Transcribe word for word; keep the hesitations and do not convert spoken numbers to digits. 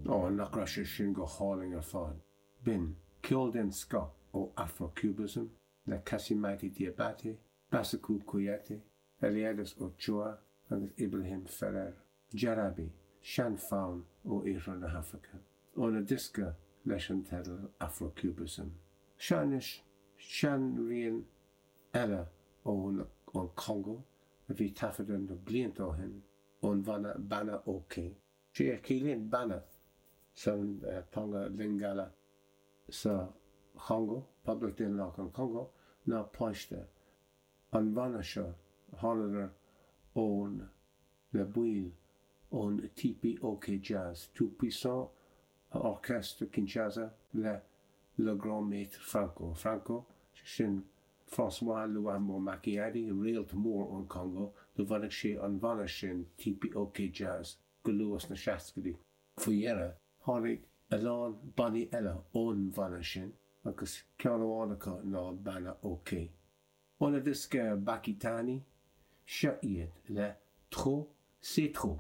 Ó, nach raibh sé sin go hálainn ar fad. B'in ceol den scoth ó Afro-Cubism le Cassimaty Diabaté, Bassekou Kouyaté, Eliades Ochoa agus Ibrahim Ferrer. Jarabi, seanfhonn ó iarthar na hAfraice. Óna diosca leis an teideal Afro-Cubism. Seo anois seanrian eile ón ón Chongó a bhí taifeadta na blianta ó shin ón bhanna Bana OK. Sé a chiallaíonn Bana san teanga Lingala sa Chongó, Poblacht Daonlathach an Chongó, ná páiste. An banna seo, thánadar ón le baill ón TP OK Jazz, Tout Puissant Orchestre Kinshasa le Le Grand Maître Franco. Franco, sé sin François Luambo Makiadi, réalt mór ón Chongó, do bhunaigh sé an bhanna sin TP OK Jazz go luath sna seascaidí. Faoi dheireadh, tháinig a lán bannaí eile ón bhanna sin agus ceann amháin acu ná Bana OK. Óna diosca Bakitani, seo iad le Trop c'est trop.